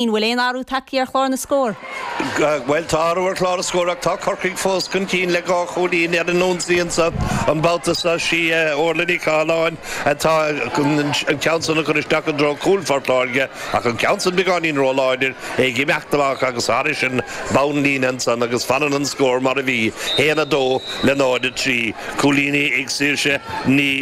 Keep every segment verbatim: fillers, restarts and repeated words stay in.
Bhfuil aon athrú tagtha ar chlár na scór. Bhuel tá athrú ar chlár na scór ach tá Corcaigh fós chun cinn le dhá chúilín ar an ionsaí anseo an babhta seo sí Orla Ní Chathalláin atá an ceann san a chur isteach i dtreo cúl Phort Láirge ach an ceann san beagáinín róláidir ag imeacht amach agus thairis an bonnlíne ansan agus fanann an scór mar a bhí haon a dó le náid a trí cúilíní ag Saoirse Ní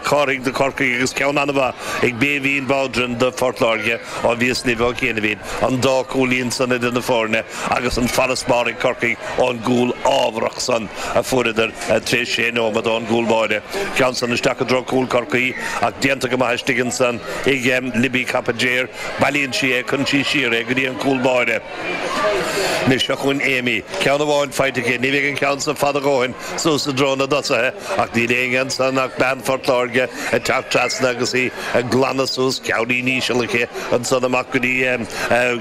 Chárthaigh do Chorcaigh agus ceann an-mhaith ag Béibhinn Bowden do Phort Láirge ó bhíos libh ó chianaibh an dá chúilín san idir na foirne agus an farasbarr ag Corcaigh ón gcúl ámharach san a fuaireadar tar éis sé nóiméad ón gcúl báire. Ceann san isteach i dtreo cúl Chorcaí ach déanta go maith istigh ansan ag Libby Capagéir, bailíonn sí é cuireann sí siar é go dtí an cúl báire. Anois seo chugainn Amy, ceann amháin faighte aici, ní bheidh an ceann san fada a dhóthain suas i dtreo na dtosaithe ach níl éinne ansan ach bean Phort Láirge ag teacht trasna agus í ag glanadh suas, ceainnín íseal aici ansan amach go dtí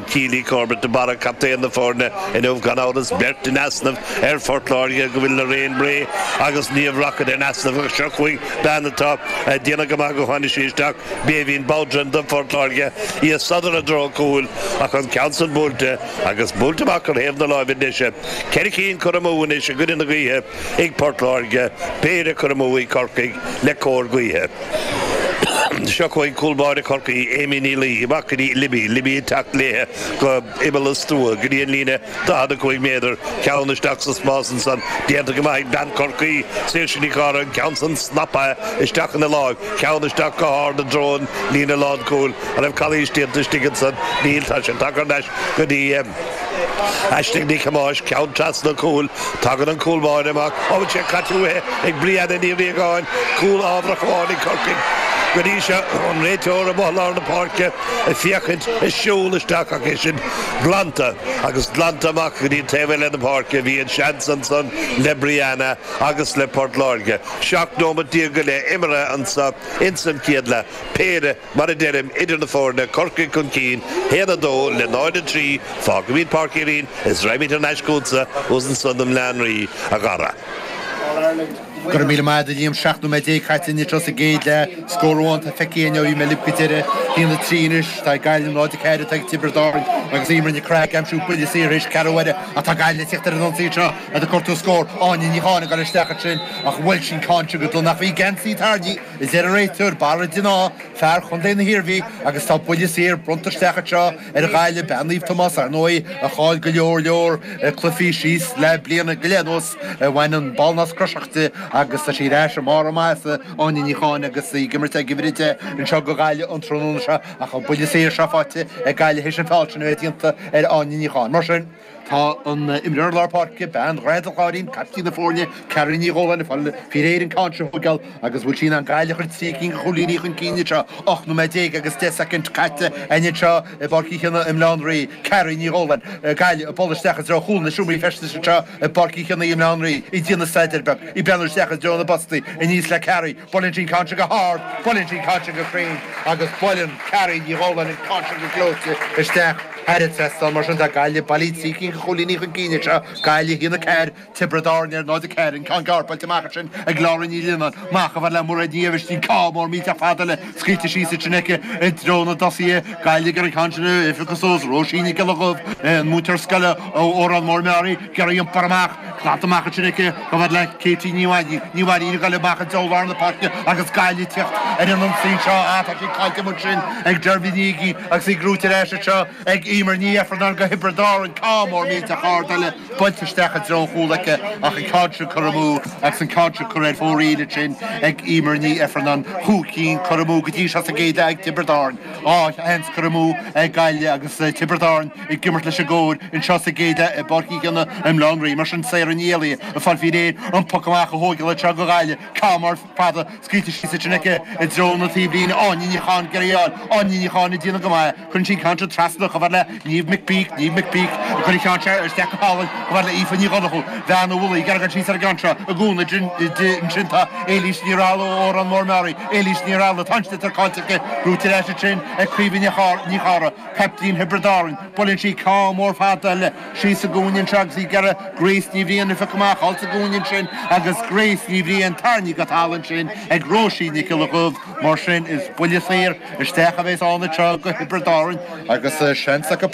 Keely Corbett de Barra, captaen na foirne inniu gan amhras, beirt in easnamh ar Phort Láirge go bhfuil Lorraine Bray agus Niamh Rockett in easnamh ach seo chugainn bean atá ag déanamh go maith go tháinig sí isteach, Béibhinn Bowden do Phort Láirge, í ag sodar i dtreo cúil ach an ceann san buailte agus buailte amach ar thaobh na láimhe deise. Ceithre cinn curtha amú anois i gcoinne na gaoithe ag Port Láirge, péire curtha amú ag Corcaigh le cóir gaoithe. Seo chugainn cúl báire Chorcaí, Amy Ní Laoi, amach go dtí Libby, Libby ag teacht léithe go imeall an stua go dtí an líne daichead a cúig méadar, ceann isteach sa spás ansan, déanta go maith ag bean Chorcaí, Saoirse Ní Chárthaigh, an ceann san snaptha isteach ina láimh, ceann isteach go hard i dtreo an líne lánchúil. An raibh calaois déanta istigh ansan? Níl, tá sé tagtha thar n-ais go dtí Aisling Ní Thomáis, ceann trasna cúil. Tagann an cúl báire amach. Ó, bhfuil sé caite uaithi ag Brianna Ní Riagáin. Cúl ámharach amháin ag Corcaigh go dtí seo. An réiteoir amuigh i lár na páirce ag féachaint, ag siúl isteach ach é sin glanta agus glanta amach go dtí an taobh eile na páirce. Bhí an seans ansan le Brianna agus le Port Láirge. Seacht nóiméad déag go leith imeartha anso ins an chéad leath. Péire, mar a deirim, idir na foirne, Corcaigh chun cinn, haon a dó le náid a trí, fágfaimid Páirc Uí Rinn is raghaimid thar n-ais chugatsa thuas ansan i mBleá an Rí, a Dhara. Go raibh míle maith agat a Liam, seacht nóiméad déag caite anseo sa gcéad leath, scór amháin atá feicthe againn ó bhí mé libh go deireadh, haon a trí anois, tá ag Gaillimh, náid a ceathair atá ag Tiobraid Árann agus Eimear Nic Craith ag aimsiú buille saor théis ceathrú uaire ach tá Gaillimh ag tíocht ar an ionsaí anseo ag cuartú scór, Áine Ní Cháin ag dul isteach ansin ach bhuail sí an ceann sin go dona ach bhí geansaí tarraingthe a deir an réiteoir, Barra den Áth, fear Chontae na hIarmhí, agus tá buille saor bronnta isteach anseo ar Ghaillimh, bean Naomh Tomás, ar ndóigh, a chaill go leor leor cluichí síos le bliana go leith anuas, bhain an ballnasc croiseach di agus tá sí ar ais i mbarr a maitheasa, Áine Ní Cháin, agus í ag imirt ag uimhir a deich anseo do Ghaillimh an tráthnóna seo ach an buille saor seo faighte ag Gaillimh théis an feall sin a bheith déanta ar Áine Ní Cháin. Mar sin. Tá an imreoir lár páirce, bean Dhroichead an Chláirín, caiptín na foirne, Carrie Ní Dhóláin, ag fáil faoi réir an ceann seo a thógáil agus bhfuil sí in ann Gaillimh a chur trí cinn de chúilíní chun cinn anseo. Ocht nóiméad déag agus deich soicind caite againn anseo i bPáirc Uí Chionnaith i mBleá an Rí. Carrie Ní Dhóláin, Gaillimh ag bualadh isteach i dtreo chúl na seomraí feistis anseo i bPáirc Uí Chionnaith i mBleá an Rí. Í ag déanamh staidéir beag, í ag breathnú isteach i dtreo na bpostaí, aníos le Carrie. Buaileann sí an ceann seo go hard, buaileann sí an ceann seo go cruinn agus buaileann Carrie Ní Dhóláin an ceann seo go gleoite isteach thar an trasnán. Mar sin tá Gaillimh bailí trí cinn de chúilíní chun cinn anseo, Gaillimh a haon a ceathair, Tiobraid Árann ar náid a ceathair, an ceann gearr buailte amach ansin ag Laura Ní Lionnáin, amach chomh fada le Mairéad Ní Aibhistín, ceann mór millteach fada eile scaoilte síos ansin aici i dtreo na dtosaithe, Gaillimh ag iarraidh an ceann sin a phiocadh suas, Róisín Nic Giolla Dhuibh, an múinteoir scoile ó Órán Mór Meáraí, ag iarraidh iompar amach. Glanta amach ansin aici chomh fada le Katie Ní Mhainín. Ní Mhainín ag dul amach i dtreo lár na páirce agus Gaillimh ag tíocht ar an ionsaí anseo. Ah, tá sí caillte amuigh ansin ag Deirbhile Ní Uiginn agus í gnóite ar ais anseo ag Eimear Ní Ifearnáin do Thiobraid Árann. Ceann mór millteach ard eile buailte isteach i dtreo an chúil aici ach an ceann sin curtha amú agus an ceann sin curtha ar fóraoil ansin ag Eimear Ní Ifearnáin. Cúig cinn curtha amú go dtí seo sa gcéad leath ag Tiobraid Árann. Dhá sheans curtha amú ag Gaillimh agus Tiobraid Árann ag imirt leis an gcóir anseo sa gcéad leath i bPáirc Uí Chionnaith i mBleá an Rí. Mar sin, Sarah Ní Éalaithe ag fáil faoi réir an poc amach a thógáil anseo do Ghaillimh. Ceann mór fada scaoilte síos ansin aici i dtreo na taobhlíne. Áine Ní Cháin ag iarraidh é a fháil. Áine Ní Cháin ag déanamh go maith. Cuireann sí an ceann seo trasna chomh fada le Niamh McPeak. Niamh McPeak ag cur an cheann seo isteach go hálainn chomh fada le Aoife Ní Dhonnchú. Bean an Mhullaigh ag iarraidh dul síos ar an gceann seo. I gcúnamh di ansin tá Éilís Ní Raghallaigh ó Órán Mór Meáraí. Éilís Ní Raghallaigh, tá an sliotar caillte aici. Gnóite ar ais ansin ag Caoimhe Ní Charra. Caiptín Thiobraid Árann. Buaileann sí ceann mór fada eile síos sa gcúinne anseo agus í ag iarraidh Grace Ní Bhriain a phiocadh amach thall sa gcúinne ansin agus Grace Ní Bhriain tarraingthe go talamh ansin ag Róisín Nic Giolla Dhuibh. Mar sin is buille saor isteach a bheas ann anseo do Thiobraid Árann agus seans acu.